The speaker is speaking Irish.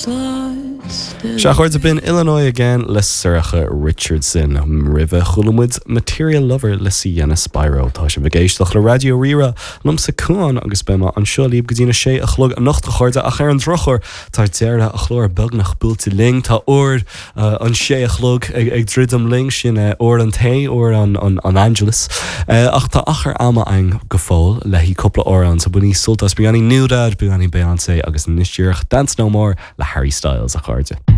Sea, a chairde, b'in Illinois Again le Sorcha Richardson. Roimhe chuala muid Material Lover le Sienna Spiro. Tá sibh ag éisteacht le Raidió Rí-Rá, liomsa Cuán agus beidh mé anseo libh go dtí na sé a chlog anocht a chairde ach ar an drochuair tá deireadh an chláir beagnach buailte linn. Tá uair an sé a chlog ag druidim linn, sin uair an tae, uair an Angelus. Ach tá achar ama againn go fóill le haghaidh cúpla amhrán, so bainigí sult as Beagáinín NewDad, beagáinín Beyoncé agus anois díreach Dance No More le Harry Styles, a chairde.